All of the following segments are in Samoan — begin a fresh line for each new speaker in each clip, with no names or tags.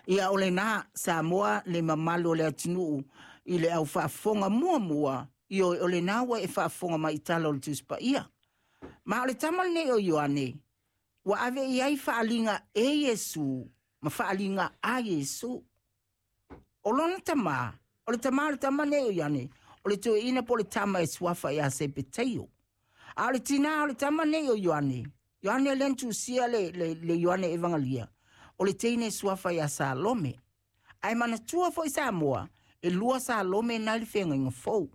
Ia o lena Samoa le mamalu o le atunuu i le au faafofoga muamua, ioe, o lena ua e faafofoga mai i tala o le Tusi Paia. Ma o le tama lenei o Ioane, ua ave i ai faaaliga e Iesu ma faaaliga a Iesu. O lona tama, o le tama o le tama nei o Ioane, o le toeaina po o le tama e suafa ia Sepeteio. A o le tinā o le tama nei o Ioane, Ioane lea na tusia le Ioane Evangelia, o le teine suafa ia Salome. Ae manatua foi Samoa, e lua Salome na i le feagaiga fou.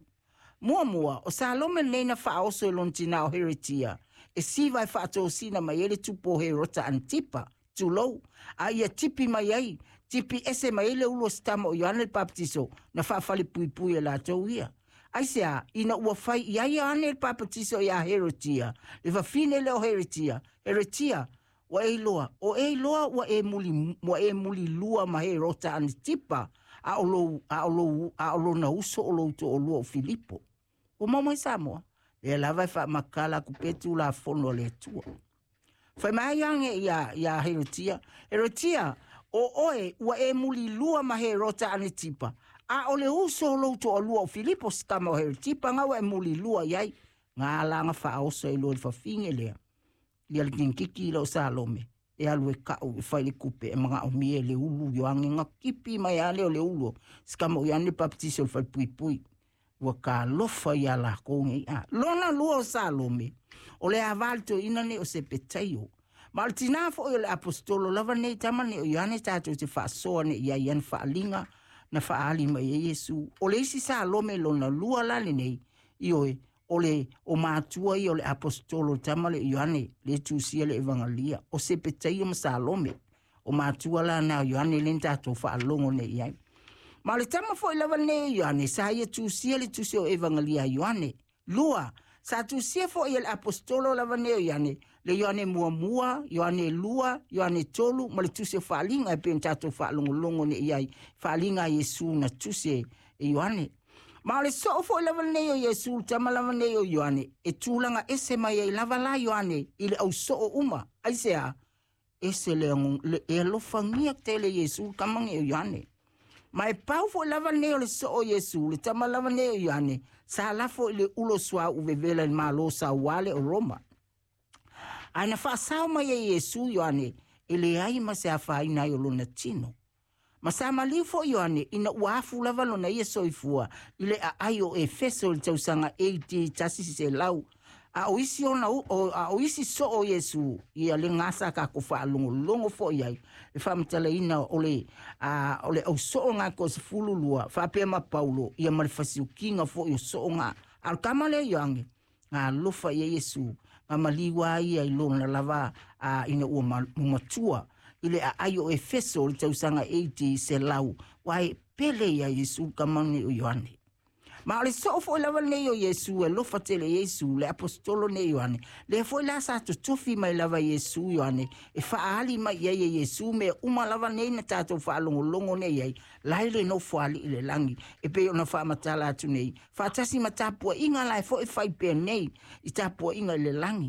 Muamua, o Salome lenei na faaoso e lona tinā o Heretia, e siva e faatosina mai ai le tupu o Herota Antipa, tulou, a ia tipi mai ai, tipi ese mai ai le ulu o si tama o Ioane le Papatiso, na faafalepuipui e latou ia. Aisea, ina ua fai i ai Ioane le Papatiso iā Herotia, le fafine lea o Herotia, Herotia, ua e iloa, o e iloa ua e muli, ua e mulilua ma Herota Antipa, a o lou, a o lou, a o lona uso o lou toalua o Filipo. Ua maua mai Samoa, lea lava e faamakala atu pea Tulafono a le Atua. Fai mai Ioane iā Herotia, Herotia, o oe ua e mulilua ma Herota Anetipa, a o le uso o lou toalua o Filipo si tama o Herotipa nga ua e mulilua i ai, nga ala na faaoso ai loa i le fafine lea, ia le kenikiki lea o Salome, e alu e kau e fai le kupe e manaomia e le ulu Ioane na tipi mai lava lea o le ulu o si tama o Ioane le Papatiso i le falepuipui. Ua talofa iā lakou nei. A lona lua o Salome, o le ava le toeaina nei o Sepetaio. Ma o le tinā foi o le aposetolo lava nei tama nei o Ioane tatou te faasoa nei i ai i ana faaaliga na faaali mai ai Iesu. O le isi Salome lona lua la lenei, ioe, o le o matua ia o le aposetolo le tama lea o Ioane, le tusia le Evangelia, o Sepetaio ma Salome. O matua la na o Ioane lea na tatou faalogo nei i ai. Ma o le tama foi lava lenei o Ioane, sa ia tusia le tusi o Evangelia a Ioane. Lua, sa tusia foi e le aposetolo lava nei o Ioane, le Ioane muamua, Ioane lua, Ioane tolu, ma le tusi o Faaaliga e pei ona tatou faalogologo nei i ai, Faaaliga a Iesu na tusi e Ioane. Ma o le soo foi lava lenei o Iesu, le tama lava nei o Ioane, e tulaga ese mai ai lava la Ioane i le au soo uma. Aisea? Ese le, le e alofagia tele Iesu, le tama nei o Ioane. Ma e pau foi lava lenei o le soo o Iesu, le tama lava nei o Ioane, sa lafo i le ulo suauu vevela i le Malo sauale o Roma. Ae na faasao mai e Iesu Ioane, e leai ma se afaina ai o lona tino. Ma sa maliu foi Ioane ina ua afu lava lona ia soifua i le aai o Efeso i le tausaga AD 100, a o isi ona o, a o isi soo o Iesu, ia le gasa tatou faalogologo foi ai le faamatalaina o le a o le au soo ga ko 12 faapea ma Paulo ia ma le fasiukiga foi o soo ga. A o le tama lea Ioane, na alofa i ai Iesu, na maliu a ia i lona lava a ina ua matua i le aai o Efeso i le tausaga AD 100, ua e pele ia Iesu tama nei o Ioane. Ma o le soo foi lava lenei o Iesu, e alofa tele i Iesu, le aposetolo nei Ioane. Lea foi la sa totofi mai lava Iesu Ioane, e faaali mai i ai e Iesu mea uma lava nei na tatou faalogologo nei ai, la i le nofoalii i le lagi, e pei ona faamatala atu nei, faatasi ma tapuaiga la e foi fai pea nei i tapuaiga i le lagi.